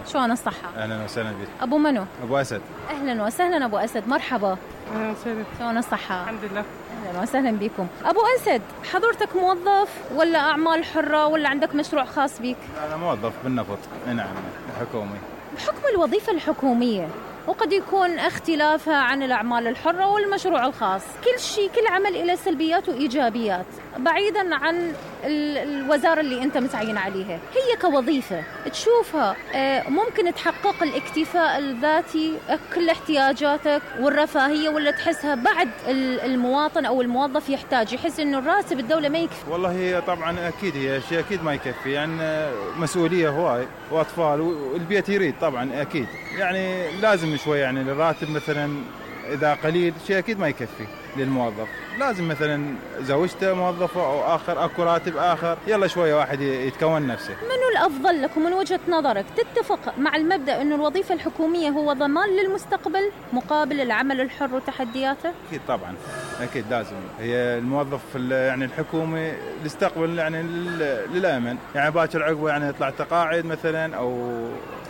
شلون الصحة؟ اهلا وسهلا بك. ابو منو؟ ابو اسد. اهلا وسهلا ابو اسد، مرحبا. اهلا وسهلا. شلون الصحة؟ الحمد لله. اهلا وسهلا بكم. ابو اسد، حضرتك موظف ولا اعمال حرة ولا عندك مشروع خاص بيك؟ انا موظف بالنفط. نعم، حكومي. بحكم الوظيفة الحكومية وقد يكون اختلافها عن الأعمال الحرة والمشروع الخاص، كل عمل له سلبيات وإيجابيات بعيدا عن الوزارة اللي أنت متعين عليها. هي كوظيفة تشوفها ممكن تحقق الاكتفاء الذاتي كل احتياجاتك والرفاهية، ولا تحسها بعد المواطن أو الموظف يحس إنه الراتب الدولة ما يكفي؟ والله هي طبعا أكيد هي شيء أكيد ما يكفي، يعني مسؤولية هواي وأطفال والبيت يريد طبعا أكيد، يعني لازم شوي، يعني الراتب مثلا إذا قليل شيء أكيد ما يكفي للموظف، لازم مثلا زوجته موظفة أو آخر أكو راتب آخر، يلا شوية واحد يتكون نفسه. منو الأفضل لك ومن وجهة نظرك تتفق مع المبدأ أنه الوظيفة الحكومية هو ضمان للمستقبل مقابل العمل الحر وتحدياته؟ أكيد طبعا، أكيد لازم. هي الموظف يعني الحكومي يستقبل يعني للأمن، يعني باكر عقبه يعني يطلع تقاعد مثلا أو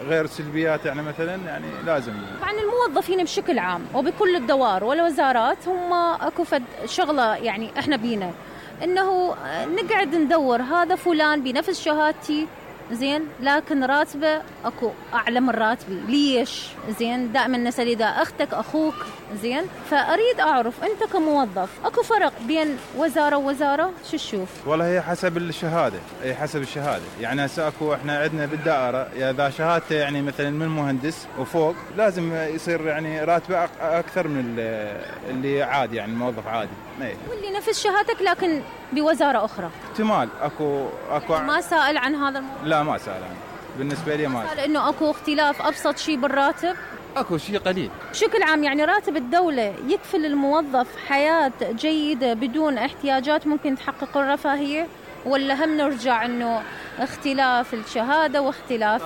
غير سلبيات، يعني مثلا يعني لازم. طبعا الموظفين بشكل عام وبكل الدوائر والوزارات هم اكو شغله، يعني احنا بينا انه نقعد ندور هذا فلان بنفس شهادتي زين لكن راتبه اكو اعلى من راتبي، ليش؟ زين دائما نسال اذا اختك اخوك، زين فاريد اعرف انت كموظف اكو فرق بين وزاره ووزاره؟ شو تشوف؟ والله هي حسب الشهاده، هي حسب الشهاده، يعني هسه اكو احنا عندنا بالدائره اذا شهادته يعني مثلا من مهندس وفوق لازم يصير يعني راتبه اكثر من اللي عادي، يعني موظف عادي. واللي نفس شهادتك لكن بوزاره اخرى احتمال اكو ما سائل عن هذا الموضوع؟ لا ما سائل عنه، بالنسبه لي ما سائل انه اكو اختلاف ابسط شيء بالراتب؟ اكو شيء قليل بشكل عام، يعني راتب الدولة يكفي للموظف حياة جيدة بدون احتياجات ممكن تحقق الرفاهية، ولا هم نرجع انه اختلاف الشهادة واختلاف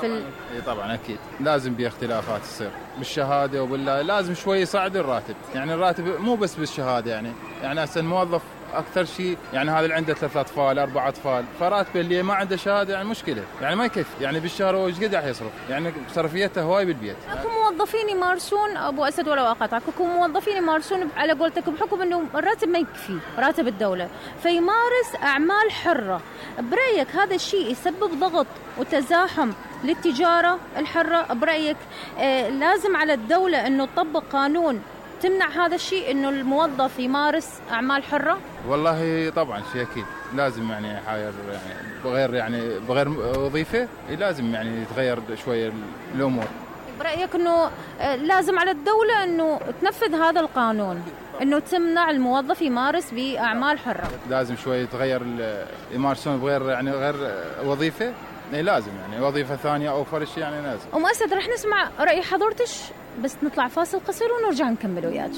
طبعا اكيد لازم باختلافات تصير بالشهادة وبالله، لازم شوي يصعد الراتب، يعني الراتب مو بس بالشهادة، يعني هسه الموظف اكثر شيء، يعني هذا اللي عنده 3 أطفال 4 أطفال فراتبه اللي ما عنده شهاده يعني مشكله، يعني ما يكفي، يعني بالشهر هو ايش قد راح يصرف، يعني صرفيته هواي بالبيت. اكو موظفين يمارسون ابو اسد ولا اقاطعك، اكو موظفين يمارسون على قولتك بحكم انه الراتب ما يكفي راتب الدوله فيمارس اعمال حره، برايك هذا الشيء يسبب ضغط وتزاحم للتجاره الحره؟ برايك لازم على الدوله انه تطبق قانون تمنع هذا الشيء انه الموظف يمارس اعمال حره؟ والله طبعا شيء اكيد لازم، يعني حاير يعني بغير وظيفه لازم يعني يتغير شويه الامور. برايك انه لازم على الدوله انه تنفذ هذا القانون انه تمنع الموظف يمارس باعمال حره؟ لازم شويه يتغير يمارسون بغير يعني غير وظيفه، لازم يعني وظيفه ثانيه او فرش، يعني لازم. ام اسد رح نسمع راي حضرتك بس نطلع فاصل قصير ونرجع نكمل وياك.